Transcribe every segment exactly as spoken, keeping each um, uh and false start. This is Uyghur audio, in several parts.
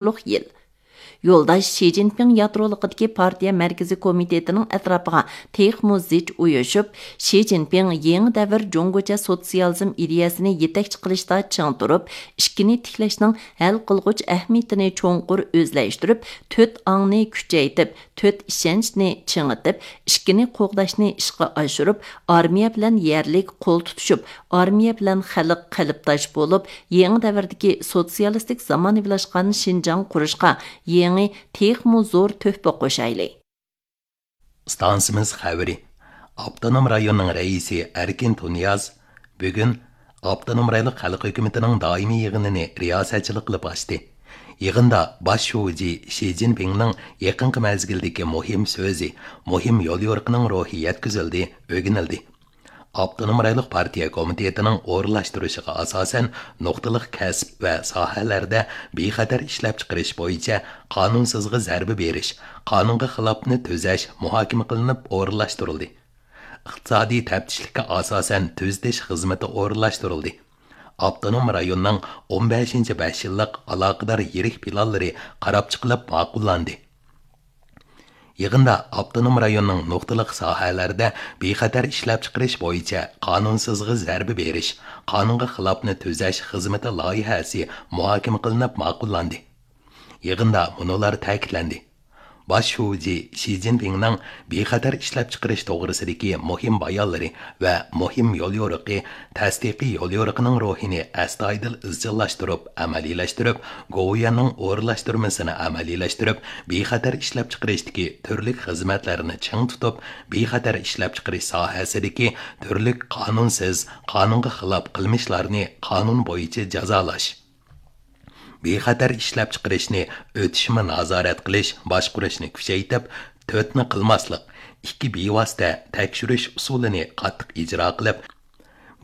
يىل. يولداش شى جىنپىڭ يادرولۇقىدىكى پارتىيە مەركىزىي كومىتېتىنىڭ ئەتراپىغا تېخىمۇ زىچ ئۇيۇشۇپ، شى جىنپىڭ يېڭى دەۋر جۇڭگوچە سوتسىيالىزم ئىدىيەسىنى يېتەكچى قىلىشتا چىڭ تۇرۇپ، ئىككىنى تىكلەشنىڭ ھەل قىلغۇچ ئەھمىيىتىنى چوڭقۇر ئۆزلەشتۈرۈپ، تۆت ئاڭنى كۈچەيتىپ، تۆت ئىشەنچنى چىڭىتىپ، ئىككىنى قوغداشنى ئىشقا ئاشۇرۇپ، ئارمىيە بىلەن يەرلىك قول تۇتۇشۇپ، ئارمىيە بىلەن خەلق قەلبداش بولۇپ، يېڭى دەۋردىكى سوتسىيالىستىك زامانىۋىلاشقان شىنجاڭ قۇرۇشقا يېڭى، تېخىمۇ زور تۆھپە قوشايلى. ئىستانسىمىز خەۋىرى. ئاپتونوم رايوننىڭ رەئىسى ئەركىن تۇنىياز بۈگۈن ئاپتونوم رايونلۇق خەلق ھۆكۈمىتىنىڭ دائىمىي يىغىنىنى رىياسەتچىلىك قىلىپ ئاچتى. يىغىندا باش شۇجى شى جىنپىڭنىڭ يېقىنقى مەزگىلدىكى مۇھىم سۆزى، مۇھىم يوليورۇقىنىڭ روھى يەتكۈزۈلدى، ئۆگىنىلدى. ئاپتونوم رايونلۇق پارتىيە كومىتېتىنىڭ ئورۇنلاشتۇرۇشىغا ئاساسەن، نۇقتىلىق كەسىپ ۋە ساھەلەردە بىخەتەر ئىشلەپچىقىرىش بويىچە قانۇنسىزغا زەربە بېرىش، قانۇنغا خىلاپنى تۈزەش مۇھاكىمە قىلىنىپ ئورۇنلاشتۇرۇلدى. ئىقتىسادىي تەپتىشلىككە ئاساسەن تۈزىتىش خىزمىتى ئورۇنلاشتۇرۇلدى. ئاپتونوم رايوننىڭ ئون بەشىنچى بەش يىللىق ئالاقىدار يىرىك پىلانلىرى قاراپ چىقىلىپ ماقۇللاندى. يىغىندا ئاپتونوم رايوننىڭ نۇقتىلىق ساھەلەردە بىخەتەر ئىشلەپچىقىرىش بويىچە قانۇنسىزغا زەربە بېرىش، قانۇنغا خىلاپنى تۈزەش خىزمىتى لايىھەسى مۇھاكىمە قىلىنىپ ماقۇللاندى. يىغىندا مۇنۇلار تەكىتلەندى. باش شۇجى شى جىنپىڭنىڭ بىخەتەر ئىشلەپچىقىرىش توغرىسىدىكى مۇھىم بايانلىرى ۋە مۇھىم يوليورۇقى، تەستىقىي يوليورۇقىنىڭ روھىنى ئەستايىدىل ئىزچىللاشتۇرۇپ ئەمەلىيلەشتۈرۈپ، گوۋۇيۈەننىڭ ئورۇنلاشتۇرمىسىنى ئەمەلىيلەشتۈرۈپ، بىخەتەر ئىشلەپچىقىرىشتىكى تۈرلۈك خىزمەتلەرنى چىڭ تۇتۇپ، بىخەتەر ئىشلەپچىقىرىش ساھەسىدىكى تۈرلۈك قانۇنسىز، قانۇنغا خىلاپ قىلمىشلارنى قانۇن بويىچە جازالاش. بىخەتەر ئىشلەپچىقىرىشنى ئۆتۈشمە نازارەت قىلىش، باشقۇرۇشنى كۈچەيتىپ، تۆتنى قىلماسلىق، ئىككى بىۋاسىتە تەكشۈرۈش ئۇسۇلىنى قاتتىق ئىجرا قىلىپ،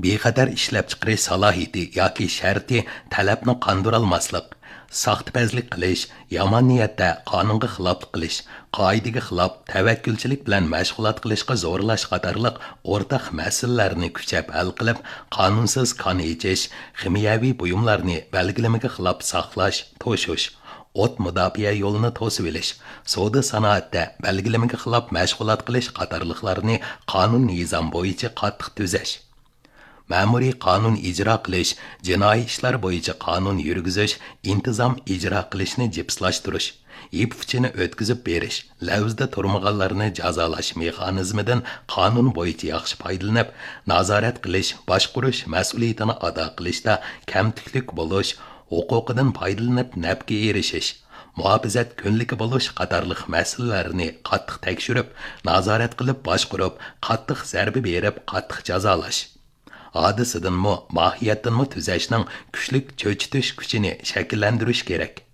بىخەتەر ئىشلەپچىقىرىش سالاھىيىتى ياكى شەرتى تەلەپنى قاندۇرالماسلىق، ساختىپەزلىك قىلىش، يامان نىيەتتە قانۇنغا خىلاپلىق قىلىش، قائىدىگە خىلاپ تەۋەككۈلچىلىك بىلەن مەشغۇلات قىلىشقا زورلاش قاتارلىق ئورتاق مەسىلىلەرنى كۈچەپ ھەل قىلىپ، قانۇنسىز كان ئېچىش، خىمىيەۋى بۇيۇملارنى بەلگىلىمىگە خىلاپ ساقلاش، توشۇش، ئوت مۇداپىئە يولىنى توسۇۋېلىش، سودا سانائەتتە بەلگىلىمىگە خىلاپ مەشغۇلات قىلىش قاتارلىقلارنى قانۇن نىزام بويىچە قاتتىق تۈزەش. مەمۇرىي قانۇن ئىجرا قىلىش، جىنايى ئىشلار بويىچە قانۇن يۈرگۈزۈش، ئىنتىزام ئىجرا قىلىشنى جىپسلاشتۇرۇش، يىپ ئۇچىنى ئۆتكۈزۈپ بېرىش، لەۋزىدە تۇرمىغانلارنى جازالاش مېخانىزمىدىن قانۇن بويىچە ياخشى پايدىلىنىپ، نازارەت قىلىش، باشقۇرۇش مەسئۇلىيىتىنى ئادا قىلىشتا كەمتۈكلۈك بولۇش، ھوقۇقىدىن پايدىلىنىپ نەپكە ئېرىشىش، مۇھاپىزەت كۈنلۈكى بولۇش قاتارلىق مەسىلىلەرنى قاتتىق تەكشۈرۈپ، نازارەت قىلىپ باشقۇرۇپ، قاتتىق زەربە بېرىپ، قاتتىق جازالاش. ھادىسىدىنمۇ، ماھىيەتتىنمۇ تۈزەشنىڭ كۈچلۈك چۆچۈتۈش كۈچىنى شەكىللەندۈرۈش كېرەك.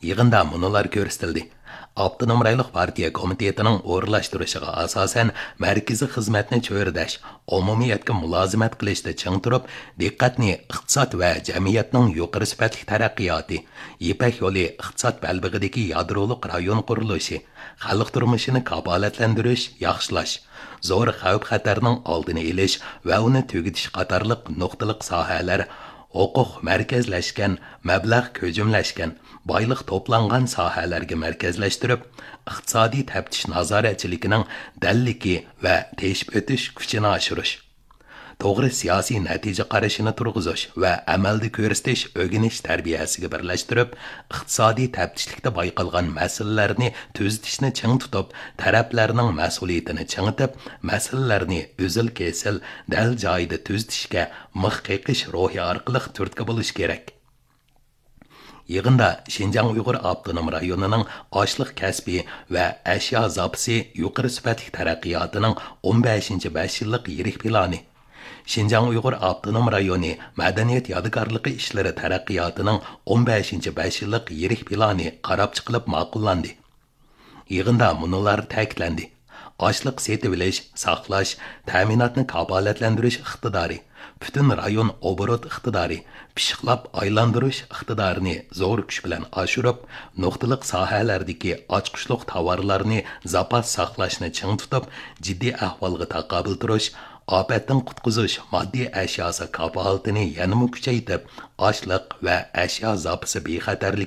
يىغىندا مۇنۇلار كۆرسىتىلدى. ئاپتونوم رايونلۇق پارتىيە كومىتېتىنىڭ ئورۇنلاشتۇرۇشىغا ئاساسەن، مەركىزىي خىزمەتنى چۆرىدەش، ئومۇمىيەتكە مۇلازىمەت قىلىشتا چىڭ تۇرۇپ، دىققەتنى ئىقتىساد ۋە جەمئىيەتنىڭ يۇقىرى سۈپەتلىك تەرەققىياتى، يىپەك يولى ئىقتىساد بەلبېغىدىكى يادرولۇق رايون قۇرۇلۇشى، خەلق تۇرمۇشىنى كاپالەتلەندۈرۈش، ياخشىلاش، زور خەۋپ-خەتەرنىڭ ئالدىنى ئېلىش ۋە ئۇنى تۈگىتىش قاتارلىق نۇقتىلىق ساھەلەر ھوقۇق مەركەزلەشكەن، مەبلەغ كۆجۈملەشكەن، بايلىق توپلانغان ساھەلەرگە مەركەزلەشتۈرۈپ، ئىقتىسادىي تەپتىش نازارەتچىلىكىنىڭ دەللىكى ۋە تېشىپ ئۆتۈش كۈچىنى ئاشۇرۇش. توغرا سىياسىي نەتىجە قارىشىنى تۇرغۇزۇش ۋە ئەمەلدە كۆرسىتىش ئۆگىنىش تەربىيەسىگە بىرلەشتۈرۈپ، ئىقتىسادىي تەپتىشلىكتە بايقالغان مەسىلىلەرنى تۈزىتىشنى چىڭ تۇتۇپ، تەرەپلەرنىڭ مەسئۇلىيىتىنى چىڭىتىپ، مەسىلىلەرنى ئۈزۈل-كېسىل، دەل جايىدا تۈزىتىشكە مىخ قېقىش روھى ئارقىلىق تۈرتكە بولۇش كېرەك. يىغىندا شىنجاڭ ئۇيغۇر ئاپتونوم رايونىنىڭ ئاشلىق كەسپى ۋە ئەشيا زاپىسى يۇقىرى سۈپەتلىك تەرەققىياتىنىڭ ئون بەشىنچى بەش يىللىق يىرىك پىلانى، شىنجاڭ ئۇيغۇر ئاپتونوم رايونى مەدەنىيەت يادىكارلىقى ئىشلىرى تەرەققىياتىنىڭ ئون بەشىنچى بەش يىللىق يىرىك پىلانى قاراپ چىقىلىپ ماقۇللاندى. يىغىندا مۇنۇلار تەكىتلەندى. ئاشلىق سېتىۋېلىش، ساقلاش، تەمىناتنى كاپالەتلەندۈرۈش ئىقتىدارى، پۈتۈن رايون ئوبوروت ئىقتىدارى، پىششىقلاپ ئايلاندۇرۇش ئىقتىدارىنى زور كۈچ بىلەن ئاشۇرۇپ، نۇقتىلىق ساھەلەردىكى ئاچقۇچلۇق تاۋارلارنى زاپاس ساقلاشنى چىڭ تۇتۇپ، جىددىي ئەھۋالغا تاقابىل تۇرۇش، ئاپەتتىن قۇتقۇزۇش ماددىي ئەشياسى كاپالىتىنى يەنىمۇ كۈچەيتىپ، ئاشلىق ۋە ئەشيا زاپىسى بىخەتەرلىكىنى